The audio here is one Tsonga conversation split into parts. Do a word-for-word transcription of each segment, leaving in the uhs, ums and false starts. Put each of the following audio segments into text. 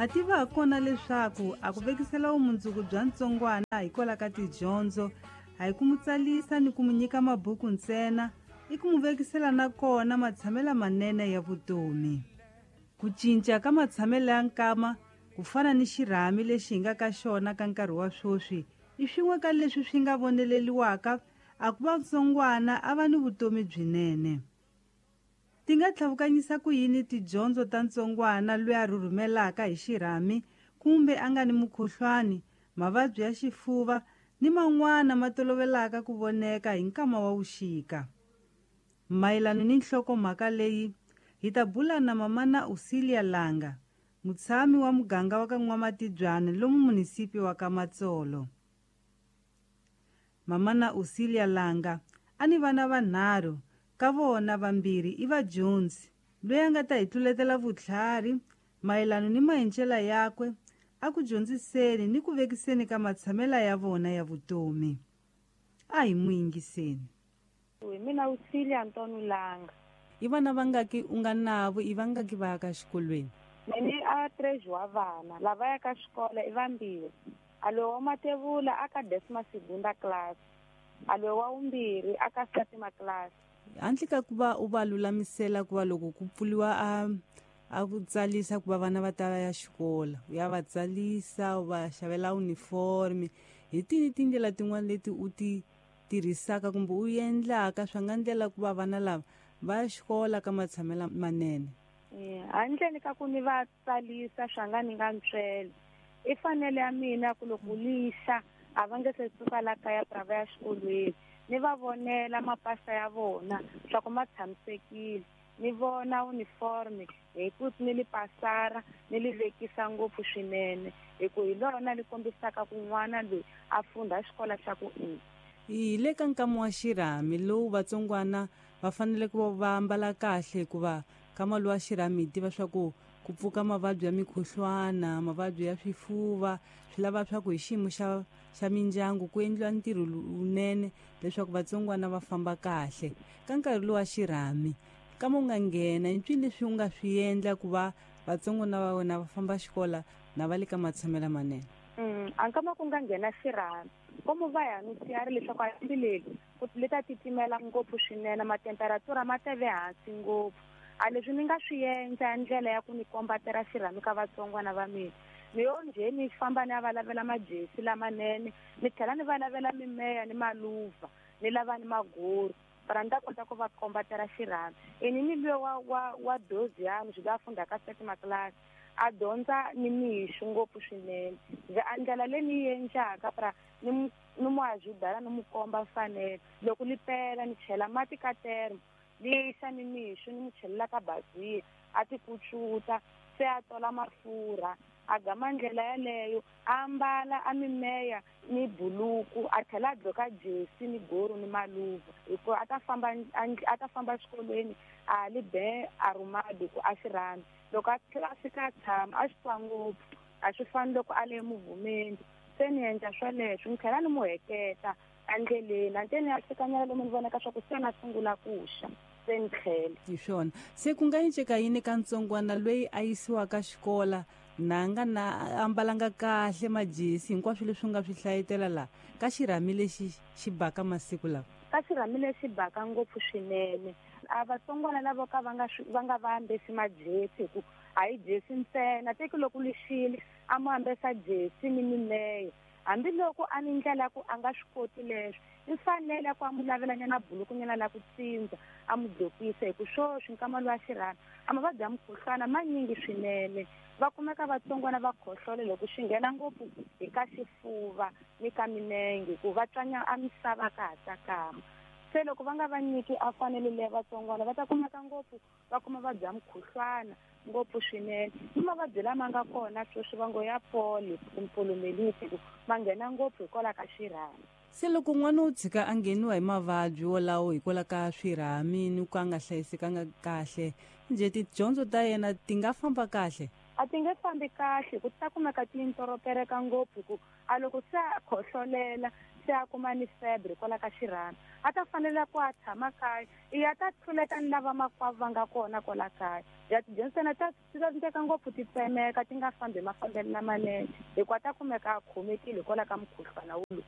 Ha tiva kona leswaku a ku vekisela vumundzuku bya ntsongwana hikwalaho ka tidyondzo, a hi ku mu tsalisa ni ku mu nyika mabuku ntsena, i ku mu vekisela na kona matshamelo manene ya vutomi. Ku cinca ka matshamelo ya nkama ku fana ni xirhami lexi hi nga ka xona ka nkarhi wa sweswi i swin'we ka leswi swi nga voneleliwaka a ku va ntsongwana a va ni vutomi byinene. Ti nga tlhavukanyisa ku yini tidyondzo ta ntsongwana loyi a rhurhumelaka hi xirhami kumbe a nga ni mukhuhlwani, mavabyi ya xifuva ni man'wana ma tolovelaka ku voneka hi nkama wa vuxika. Mayelana ni nhlokomhaka leyi, hi ta bula na mamana Auxilia Langa, mutshami wa muganga wa ka N'wamatibyana lomu munisipi wa ka Matsolo. Mamana Auxilia Langa a ni vana vanharhu, ka vona vambirhi i vadyondzi, loyi a nga ta hi tluletela vutlhari mayelana ni mahencela yakwe a ku dyondziseni ni ku vekiseni ka matshamela ya vona ya vutomi. A hi n'wi yingiseni. Hi mina Auxilia Antonio Langa. I vana vangaki u nga navo, i vangaki va ya ka xikolweni? Mina a treze wa vana, lava ya ka xikolo i vambirhi. A loyi wa matevula a ka décima segunda classe, a loyi wa vumbirhi a ka sétima classe. Handle ka ku va u va lulamisela ku va loko ku pfuriwa a, a ku tsalisa ku va vana va ta ya xikolo, u ya va tsalisa, u va xavela uniform, hi tini tindlela tin'wana leti u ti tirhisaka kumbe u endlaka swa nga ndlela ku va vana lava va ya xikolo ka matshamelo manene? Eh, handleni ka ku ni va tsalisa swa nga ni nga ntswele, i fanele ya mina ku loko lixa a va nge se suka la kaya pra va ya xikolweni, ni va vonela mapasa ya vona swa ku ma tshamisekile, ni vona uniform hi ku ni li pasara ni li vekisa ngopfu swinene, hi ku hi lona li kombisaka ku n'wana loyi a fundha xikolo xa ku i. Hi le ka nkama wa xirhami lowu vatsongwana va fanele ku va va ambala kahle, hikuva nkama lowu wa xirhami hi tiva swa ku ku pfuka mavabyi ya mikhuhlwana, mavabyi ya swifuva, swi lava swa ku hi xiyimo xa, xa mindyangu ku endliwa ntirho lowunene leswaku vatsongwana va famba kahle. Ka nkarhi lowu wa xirhami, nkama u nga nghena, i mpfini leswi u nga swi endla ku va vatsongwana va wena va famba xikolo na va le ka matshamelo manene? Mm, a nkama ku nga nghena xirhami, komu va ya nusiyari leswaku a lembe leri ku le ta titimela ngopfu swinene, matemperatura ma ta ve hansi ngopfu. A leswi ni nga swi endla ndlela ya ku ni kombatela xirhami ka vatsongwana va mina, ni yo njhe ni famba ni ya va lavela majesi lamanene, ni tlhela ni va lavela mimeya ni maluva, ni lava ni maguru, para ni ta kota ku va kombatela xirhami. Ini ni luya wa, wa, wa dozi yani, swi la fundha ka sétima classe, a dyondza ni mixo ngopfu swinene. Ndzi a ndlela leyi ni yi endlaka para ni mu, ni mu ajudala ni mu komba mfanelo. Loko li pela ni chela mati ka termo, lixa ni mixo ni mu chelela ka baziya, a ti kucuta, se a tola mafurha, a gama ndlela yaleyo, a ambala a mimeya ni buluku, a tlhela a dloka jesi ni goru ni maluva, hikuva a ta famba a ta famba exikolweni a li be a rumadi ku a xi rhandzi. Loko a tlhela a fika a tshama a xi twa ngopfu, a swi fani loko a le muvumeni. Se ni endla swoleswo, ni tlhela ni mu heketa endleleni, a ni ya fikanyana lomu ni vonaka swa ku se na sungula ku xa, se ni tlhela. Hi swona. Se ku nga enceka yini ka ntsongwana loyi a yisiwaka xikola na nga na ambalanga kahle majesi hinkwaswo leswi u nga swi hlayetela laha ka xirhami lexi xi baka masiku lawa? Ka xirhami lexi baka ngopfu swinene, a vatsongwana lavo ka va nga swi, va nga va ambesi majesi, hi ku a hi jesi ntsena, teki loko lixile a mu ambesa jesi ni mimeya, hambiloko a ni ndlela ya ku a nga swi koti leswo, i fanele ku a mu lavelanyana bulukunyana la ku tsindza, a mu dlokisa, hi ku swoswi nkama lowa xirhami a mavabyi ya mukhuhlwana manyingi swinene. Va kumeka vatsongwana va khohlola loko xi nghena ngopfu hi ka xifuva ni ka minenge, ku va tswanya a misava ka ha tsakama. Se loko va nga va nyiki a fanele leya vatsongwana, va ta kumeka ngopfu va kuma vabyi ya mukhuhlwana ngopfu swinene. Ni mavabyi lama nga kona sweswi va ngo ya pole, polomeliti, ku ma nghena ngopfu hikwalaho ka xirhami. Se loko n'wana u tshika a ngheniwa hi mavabyi wolawo hikwalaho ka swirhami ni ku a nga hlayisekanga kahle, njhe tidyondzo ta yena ti nga famba kahle? A ti nge fambi kahle, ku ta kumeka ti intoropereka ngopfu, ku a loko se a khohlolela Se a kuma ni febre kwala ka xirhami a ta fanela ku a tshama kaya i ya ta tluleta ni lava makwavo va nga kona kwala kaya ya tidyondzo ta ti tsandzeka ngopfu ti tsemeka ti nga fambi mafambelo lamanene hikuva ta kumeka a khomekile hikwalaho ka mukhuhlwana wulu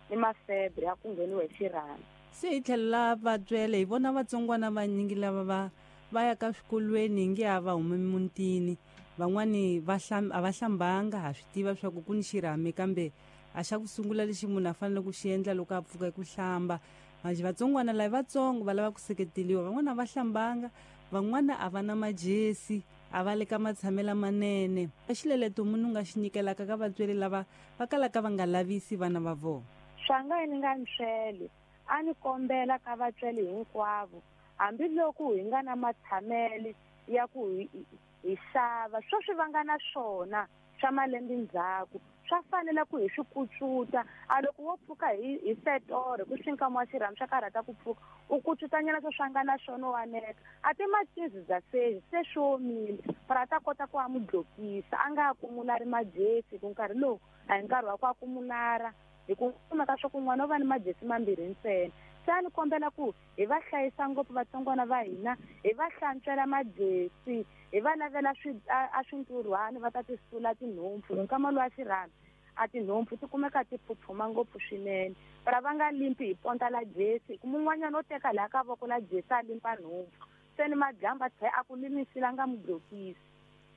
ni mafebre ya ku ngheniwa hi xirhami. Se hi tlhela vatswele hi vona vatsongwana vanyingi lava va va ya ka swikolweni hi nge a va humi mutini van'wani va a va hlambanga ha swi tiva swa ku ku ni xirhami kambe a xa ku sungula lexi munhu a fanele ku xi endla loko a pfuka ku hlamba manje vatsongwana lava vatsongo va lava ku seketeliwa van'wana a va hlambanga van'wana a va na majesi a va le ka matshamelo manene a xileleto munhu nga xi nyikelaka ka vatsweri lava va kalaka va nga lavisi vana va vona. Swa nga ni nga ntswele a ni kombela ka vatsweri hinkwavo hambiloko hi nga na matshamelo ya ku hi xava sweswi va nga na swona swa malembe ndzhaku swa fanela ku hi swi kutsuta a loko wo pfuka hi hi setore ku swi nkama wa xirhami swa karhata ku pfuka u kutsutanyana swo swa nga na swona wa neka a ti machizi bya se se swi omile para a ta kota ku a mu dlokisa a nga kumulara majesi ku nkarhi lowu a hi nkarhi wa ku a kumulara hi ku kumeka swa ku n'wana u va ni majesi mambirhi ntsena. Se a ni kombela ku hi va hlayisa ngopfu vatsongwana va hina hi va hlantswela majesi hi va lavela swi a swinturhwani va ta ti sula tinhompfu hi nkama lowa xirhami a tinhompfu ti kumeka ti phuphuma ngopfu swinene para va nga limpi hi ponta la jesi ku mun'wanyana o teka laha ka voko la jesi a limpa nhompfu se ni madyambu a tlhela a ku limisile a nga mu dlokisi.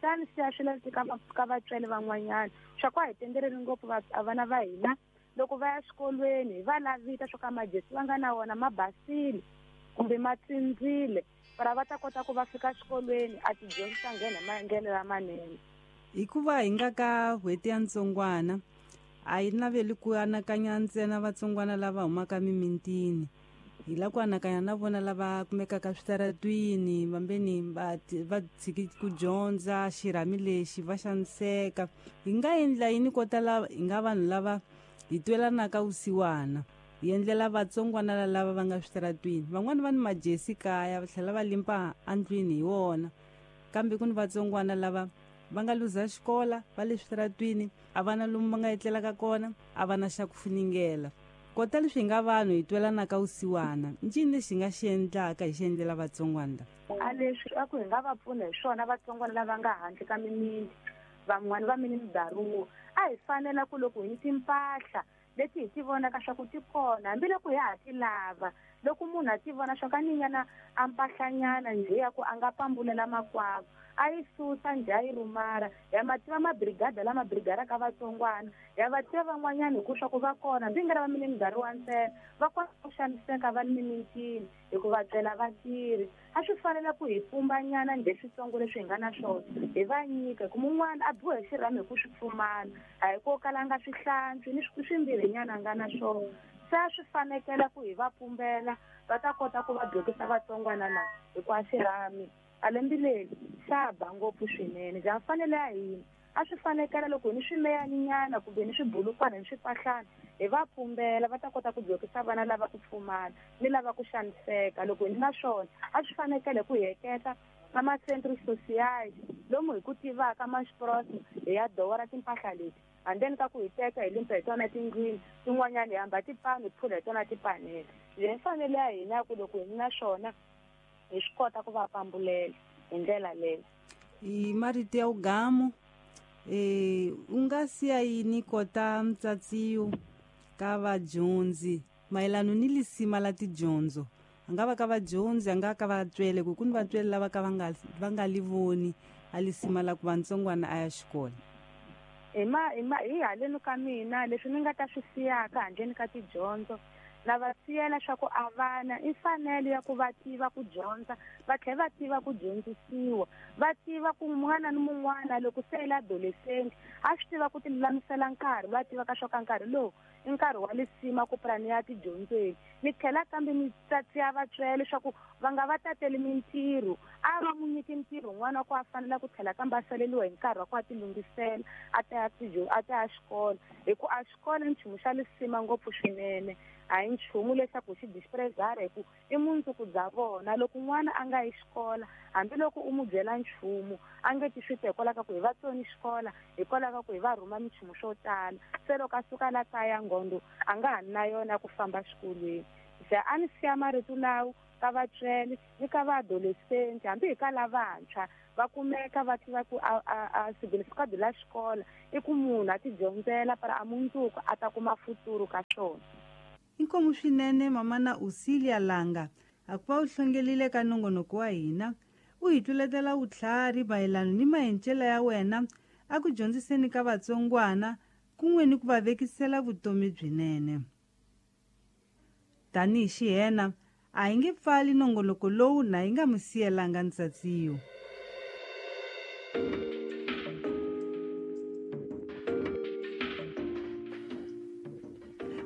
Se a ni siya swilo ka ka vatswari van'wanyana swa ku a hi tendeleli ngopfu vana va hina loko va ya xikolweni hi va lavita swo ka majesi va nga na wona ma basile kumbe ma tsindzile para va ta kota ku va fika xikolweni a tidyondzo ta nghena maendlelo lamanene. Hikuva hi nga ka n'hweti ya ntsongwana a yi naveli ku anakanya ntsena vatsongwana lava humaka mimintini hi lava ku anakanya na vona lava kumekaka switaratwini vambeni va va tshiki ku dyondza xirhami lexi va xaniseka hi nga endla yini ko tala hi nga vanhu lava hi twelanaka vusiwana hi endlela vatsongwana lava va nga switaratwini van'wani va ni majesi kaya va tlhela va limpa andlwini hi wona kambe ku ni vatsongwana lava va nga luza xikola va le switaratwini a va na lomu va nga etlelaka kona a va na xa ku funingela kota leswi hi nga vanhu hi twelanaka vusiwana ncini lexi hi nga xi endlaka hi xi endlela vatsongwana lava a leswi a ku hi nga va pfuna hi swona vatsongwana lava nga handle ka mimiti van'wani va mini midaruwa a hi fanela ku loko hi ni timpahla leti hi ti vonaka swa ku ti kona hambiloko hi ha ti lava loko munhu a ti vona swa ka ninyana a mpahlanyana njhe ya ku a nga pambulela makwavo a yi susa njhe a yi rumara ya ma tiva mabrigada lama brigaraka vatsongwana ya va tiva van'wanyana hi ku swa ku va kona hambi nga ri va mini midaruwa ntsena va kota ku xaniseka va ni mimintini hikuva tswela vatirhi a swi fanela ku hi pumbanyana njhe switsongo leswi hi nga na swona hi va nyika hi ku mun'wana a biwa hi xirhami hi ku swi pfumala a hi ko kala a nga swi hlantswi ni swimbirhinyana a nga na swona se a swi fanekela ku hi va pumbela va ta kota ku va dlokisa vatsongwana lava hikuva xirhami a lembe leri xa ba ngopfu swinene bya mfanelo ya hina a swi fanekela loko hi ni swimeyaninyana kumbe ni swibulukwana ni swipahlana hi va pumbela va ta kota ku dlokisa vana lava ku pfumala ni lava ku xaniseka loko hi ni na swona a swi fanekele ku hi heketa ka ma-centre social lomu hi ku tivaka masprosi hi ya dora timpahla leti handeni ka ku hi teka hi limpa hi tona tindlwini tin'wanyana hi hamba tipani hi phula hi tona tipanele leyi mfanelo ya hina ya ku loko hi ni na swona hi swi kota ku va pambulela hi ndlela leyo. Hi marito ya ugamu eh u nga siya yini kota mtsatsiyo ka vadyondzi mayelano ni lisima la tidyondzo a nga va ka vadyondzi a nga ka vatswele ku ku ni vatswele lava ka va nga va nga li voni a lisima la ku va ntsongwana a ya xikolo. Hi ma hi ma hi haleni ka mina leswi ni nga ta swi siyaka handleni ka tidyondzo na va siyela swa ku a vana i mfanelo ya ku va tiva ku dyondza va tlhela va tiva ku dyondzisiwa va tiva ku mun'wana ni mun'wana loko se i adolescent a swi tiva ku ti lulamisela nkarhi va tiva ka swa ka nkarhi lowu i nkarhi wa lisima ku purani ya tidyondzweni ni tlhela kambe ni tsatsiya vatswele leswaku va nga va tateli mintirho a va mu nyiki ntirho n'wana wa ku a fanela ku tlhela kambe a saleliwa hi nkarhi wa ku a ti lunghisela a ta ya a ta ya xikolo hi ku a xikolo i nchumu xa lisima ngopfu swinene A hi nchumu leswaku xi disprezara hi ku i mundzuku bya vona. Loko n'wana a nga yi xikola, hambiloko u n'wi byela nchumu, a nge ti swi twa hikwalaho ka ku hi va tsoni xikola, hikwalaho ka ku hi va rhuma minchumu swo tala. Se loko a suka la kaya nghondo a nga ha na yona ku famba xikolweni. Se a ni siya marito lawo ka vatswari ni ka va-adolescent, hambi hi ka lavantshwa va kumeka va tiva ku a, a, a significado la xikola i ku munhu a ti dyondzela para a mundzuku a ta kuma futuro ka swona. Inkomu swinene mamana Usilia Langa a ku va u hlongelile ka nongonoko wa hina, u hi tluletela vutlhari mayelana ni mahencela ya wena a ku dyondziseni ka vatsongwana kun'we ni ku va vekisela vutomi byinene. Tanihi xihena a hi nge pfali nongonoko lowu na hi nga mi siyelanga ntsatsiyo.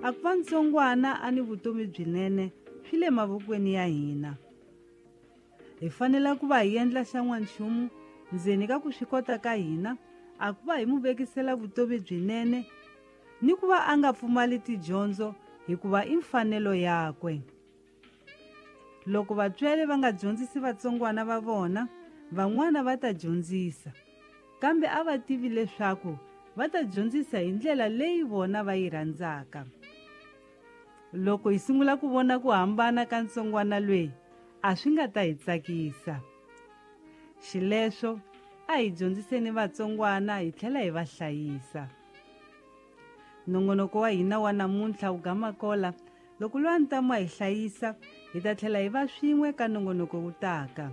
A ku va ntsongwana a ni vutomi byinene swi le mavokweni ya hina. Hi fanele ku va hi endla xan'wanchumu ndzeni ka ku swi kota ka hina a ku va hi mu vekisela vutomi byinene ni ku va a nga pfumali tidyondzo hikuva i mfanelo yakwe. Loko vatswari va nga dyondzisi vatsongwana va vona, van'wana va ta dyondzisa, kambe a va tivi leswaku va ta dyondzisa hi ndlela leyi vona va yi rhandzaka. Loko hi sungula ku vona ku hambana ka ntsongwana loyi, a swi nga ta hi tsakisa. Xileswo a hi dyondziseni vatsongwana hi tlhela hi va hlayisa. Nongonoko wa hina wa namuntlha wu gama kola. Loko loyi a ntamu a hi hlayisa, hi ta tlhela hi va swin'we ka nongonoko wu taka.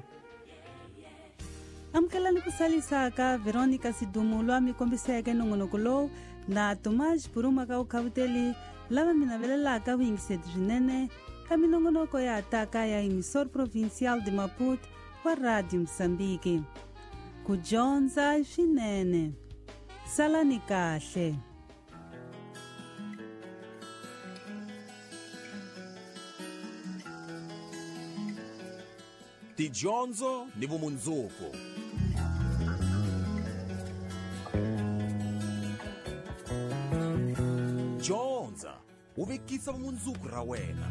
Amukelani ku salisaka Veronica Sidumo loyi a mi kombiseke nongonoko lowu na Tomás Buruma ka Vukhavuteli, lava mi navelelaka vuyingiseti swinene ka minongonoko ya taka ya Emissor Provincial de Maputo wa Radio Mozambique. Ku dyondza swinene. Salani kahle. Tidyondzo ni vumundzuku. Dyondza u vekisa vumundzuku ra wena.